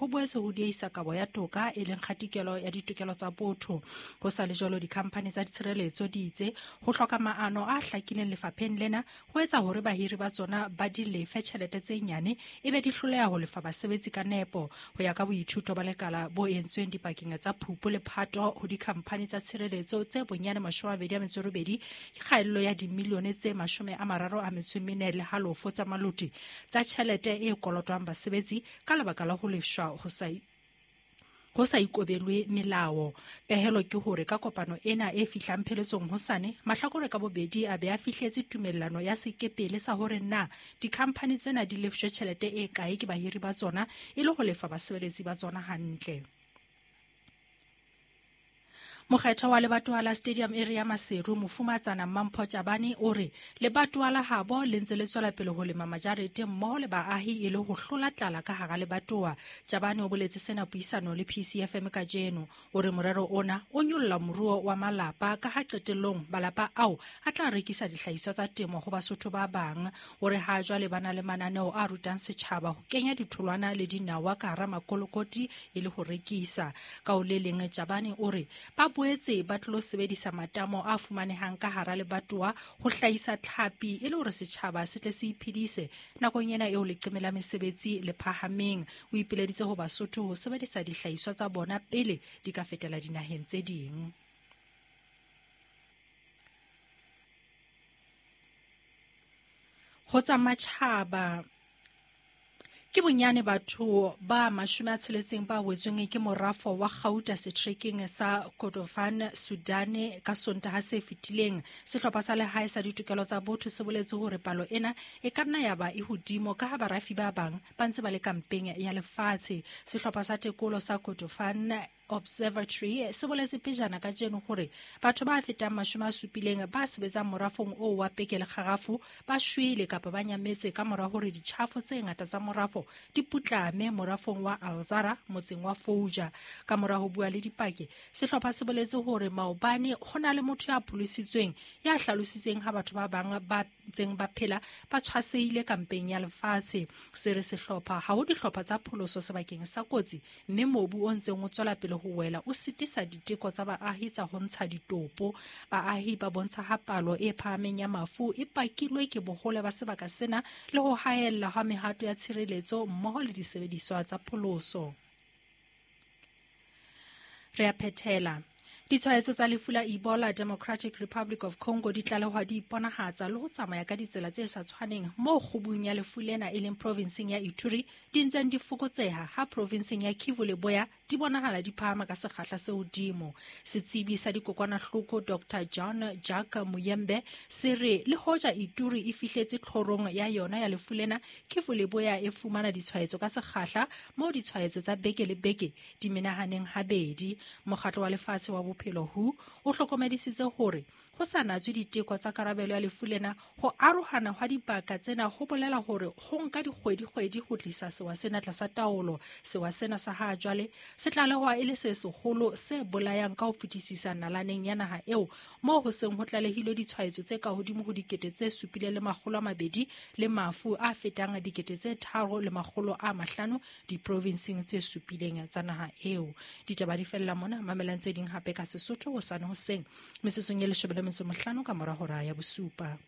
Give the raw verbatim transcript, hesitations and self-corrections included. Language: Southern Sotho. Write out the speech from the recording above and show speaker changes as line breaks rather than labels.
boetse ho dieisa kabo ya toka e leng kgatikelo ya ditokelo tsa botho. Ho sa le jwalo, dikhamphani tsa ditshireletso di itse ho hloka maano a hlakileng lefapheng lena ho etsa hore bahiri ba tsona ba di lefe tjhelete tse nyane ebe di hloleha ho lefa basebetsi ka nepo. Ho ya ka boithuto ba lekala bo entsweng dipakeng tsa Phupu le Phato ho dikhamphani tsa tshireletso tse bonyane mashome a mabedi a metso e robedi ke kgaello ya dimilione tse mashome a mararo a metso e mene le halofo tsa maloti tsa tjhelete e kolotwang basebetsi ka lebaka la ho lefshwa ho sa ho sa ikobelwe melao. Pehelo ke hore ka kopano ena e fihlang pheletsong hosane, mahlakore ka bobedi a be a fihletse tumellano ya sekepele sa hore na dikhamphani tsena di lefshwe tjhelete e kae ke bahiri ba tsona e le ho lefa basebeletsi ba tsona hantle. Mokgetho wa lebatowa la Stadium Area Maseru, Mofumatsana Mampho Tjabane, o re lebatowa la habo le ntse le tswela pele ho lema majarete mmoho le baahi e le ho hlola tlala ka hara lebatowa. Tjabane o boletse sena puisano le P C F M kajeno. O re morero ona o nyolla moruo wa malapa ka ha qetellong malapa ao a tla rekisa dihlahiswa tsa temo ho Basotho ba bang. O re ha jwale ba na le mananeo a rutang setjhaba ho kenya ditholwana le dinawa ka hara makolokoti e le ho rekisa. Ka ho le leng, Tjabane o re ba boetse ba tlo sebedisa matamo a fumanehang ka hara lebatowa ho hlahisa tlhapi e le hore setjhaba se tle se iphedise nakong ena eo leqeme la mesebetsi le phahameng. O ipileditse ho Basotho ho sebedisa dihlahiswa tsa bona pele di ka fetela dinaheng tse ding. Ho tsa matjhaba, ke bonyane batho ba mashome a tsheletseng ba wetsweng ke morafo wa kgauta setrekeng sa Kordofan, Sudan ka Sontaha se fetileng. Sehlopha sa lehae sa ditokelo tsa botho se boletse hore palo ena e ka nna ya ba e hodimo ka ha barafi ba bang ba ntse ba le kampeng ya lefatshe. Sehlopha sa tekolo sa Kordofan Observatory se boletse pejana kajeno hore batho ba fetang mashome a supileng ba sebetsang morafong oo wa peke le kgarafu ba shwele kapa ba nyametse ka mora hore ditjhafo tse ngata tsa morafo di putlame morafong wa Alzara motseng wa Fouja. Ka mora ho bua le dipaki, sehlopha se boletse hore maobane ho na le motho ya pholositsweng ya hlalositseng ha batho ba bang ba ntseng ba phela ba tshwasehile kampeng ya lefatshe. Se re sehlopha ha ho dihlopha tsa pholoso sebakeng sa kotsi, mme mobu o ntseng o tswela pele ho wela o sitisa diteko tsa baahi tsa ho ntsha ditopo. Baahi ba bontsha ha palo e phahameng ya mafu e pakilwe ke bohole ba sebaka sena le ho haella ha mehato ya tshireletso mmoho le disebediswa tsa pholoso. Re a phethela. Ditshwaetso tsa lefu la Ebola Democratic Republic of Congo di tlalehwa di iponahatsa le ho tsamaya ka ditsela tse sa tshwaneng moo kgubung ya lefu lena e leng provinseng ya Ituri di ntseng di fokotseha ha provinseng ya Kivu Leboya di bonahala di phahama ka sekgahla se hodimo. Setsebi sa dikokwanahloko Doctor John Jack Muyembe se re le hoja Ituri e fihletse tlhorong ya yona ya lefu lena, Kivu Leboya e fumana ditshwaetso ka sekgahla moo ditshwaetso tsa beke le beke di menahaneng habedi. Mokgatlo wa lefatshe wa Bophelo W H O o hlokomedisitse hore ho sa natswe diteko tsa karabelo ya lefu lena, ho arohana hwa dibaka tsena ho bolela hore ho nka dikgwedi-kgwedi ho tlisa sewa sena tlasa taolo. Sewa sena sa ha jwale se tlalehwa e le se seholo se bolayang ka ho fetisisa nalaneng ya naha eo, moo ho seng ho tlalehilwe ditshwaetso tse ka hodimo ho dikete tse supileng le makgolo a mabedi le mafu a fetang dikete tse tharo le makgolo a mahlano diprovinseng tse supileng tsa naha eo. Ditaba di fella mona, mamelang tse ding hape ka Sesotho hosane hoseng metsotsong e leshome le metso mohlano ka mora hora ya bosupa.